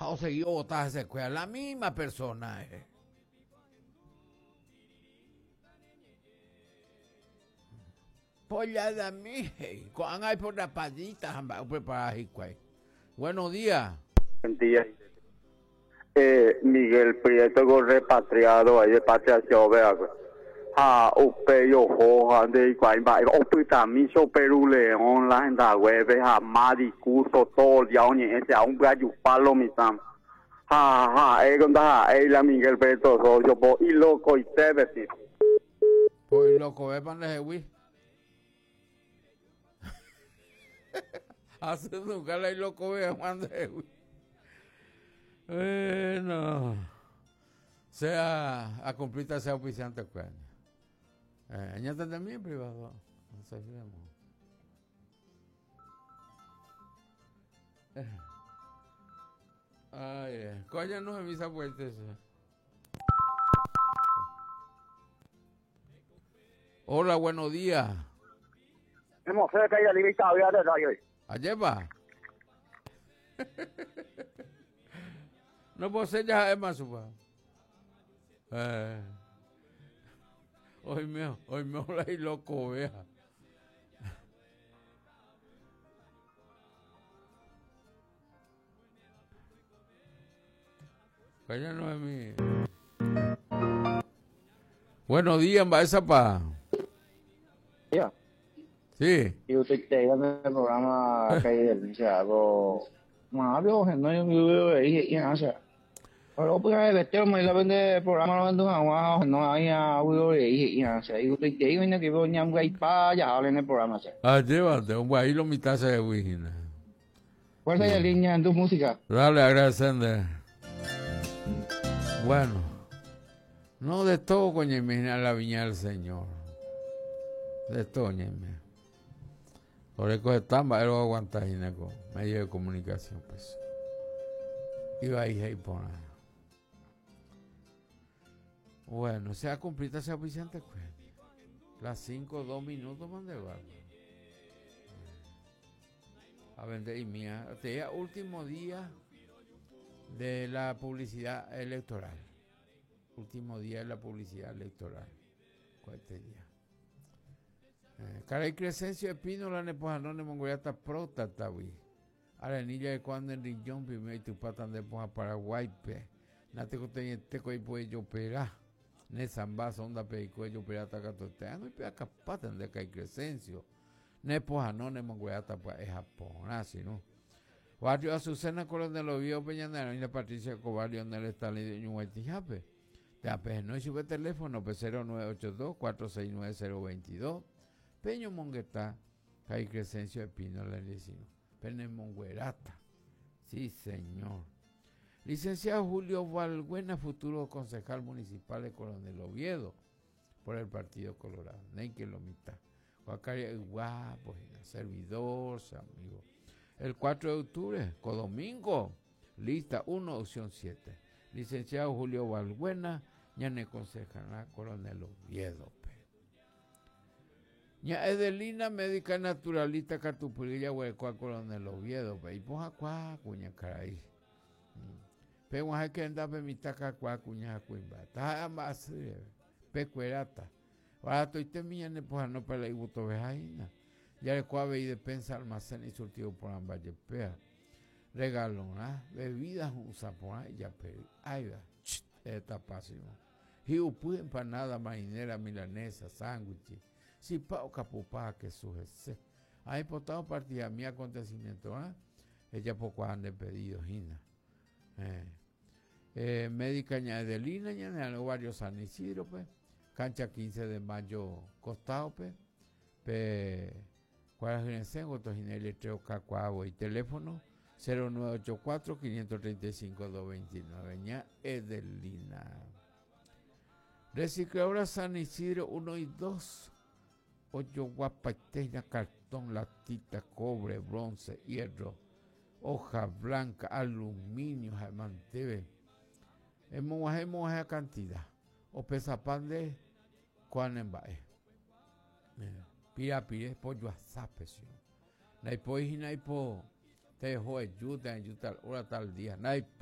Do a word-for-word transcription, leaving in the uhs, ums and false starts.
Ha osegi ovota hesekuéra la misma persona. Eh. Polladami, ko'ág̃a aipo rapadita ha mba'e oprepara hikuái. Buenos días. Buen día. Eh, Miguel Prieto con repatriado ahí de Patria vea. Ha upe oho ha de igual opytami Perú León la gente web ha más discurso todo el día oñe ese a un palo mitad. Ha ha eh conda ha eh la Miguel Prieto socio po y loco y te vesti. Pues loco ve pan de Hace nunca la loco ve Juan de Bueno, sea a cumplir sea auspiciante pues. Eh, añade también privado. No. Eh. Ay, eh. Coño no me misa puertas. Hola, buenos días. Hemos cerca ya limitado ya de hoy. Ayer va. No puedo ser ya es más supa. Eh. Hoy me, hoy me hola y loco vea. Calla no es mi. Buenos días, esa pa. Ya. Sí. Y usted te en el programa que hay del algo. Mario, no yo me y y Pero pues vete me la vende el programa lo vende agua no hay agua y y y usted te digo que voy a ir pa ya hablen en el programa. Ah, llévate, un ahí lo mitad se de. Fuerza y línea en tu música. Dale, agradeciendo. Bueno, no de todo, coño, imagina la viña del Señor. De todo, coño. Por eso están, él lo aguanta gineco, medio de comunicación, pues. Iba ahí y por nada. Bueno, se ha cumplido ese auspiciante, pues. Las cinco, dos minutos, mande barco. A vender y mía. Este es último día de la publicidad electoral. Último día de la publicidad electoral. ¿Cuál este día? Eh, Caray Crescencio Espínola nepojanone mongoliata próstata wi. Arenilla de cuando en riñón primero y tu patan de poja Paraguay pe. Nate coteñeteco y pues yo pera. Ne zamba sonda pe y cuello pirata catote. No y pe capatan de Caray Crescencio. Nepojanone mongoliata pues es Japón, así no. Barrio Azucena Coronel Oviedo Peñanera y la Patricia Cobarrio en el Estadio Ñuguaytijape. Te apeje no y sube teléfono pe cero nueve ocho dos cuatro seis nueve cero veintidós. Peño Monguetá, Caray Crescencio Espínola Licino. Pene Monguerata. Sí, señor. Licenciado Julio Valbuena, futuro concejal municipal de Coronel Oviedo, por el Partido Colorado. Neike lo mitad. Guacaria, guapo, servidor, amigo. El cuatro de octubre, codomingo, lista uno, opción siete. Licenciado Julio Valbuena, ñane concejal Coronel Oviedo. Ña Edelina, médica naturalista, Catupurilla, Huecoa, Coronel Oviedo, pe, y poja cuá, cuña caray. Pe, guaje que anda, pe, mitaca, cuá, cuña, cuimba. Ta, ambas, pe, cuerata. Ahora estoy temía, ne, poja, no, para la ibuto, vejaina. Ya le cuave y despensa, almacén y surtido por ambas, yepea. Regalona, bebidas, un sapón, y ya, pe, ahí va, está pásimo. Hiupu, empanada, marinera, milanesa, sándwich. Si pa o capupá que sujese. Ahí potado partida mi acontecimiento, ¿eh? Ella poco han de pedido, Gina. Eh, eh, médica Adelina, ña barrio San Isidro, pues. Cancha quince de mayo, costado, pues. Pe, y teléfono cero nueve ocho cuatro, quinientos treinta y cinco, doscientos veintinueve. Ña Edelina. Recicladora San Isidro uno y dos. Ocho guapateña, cartón, latita, cobre, bronce, hierro, hoja blanca, aluminio, manteve. Hemos esa cantidad. O pesapan de cuanembae. Pira pire pollo azape, sí. Naipo y naipo te dejó ayuda, ayuda tal hora tal día. Naipo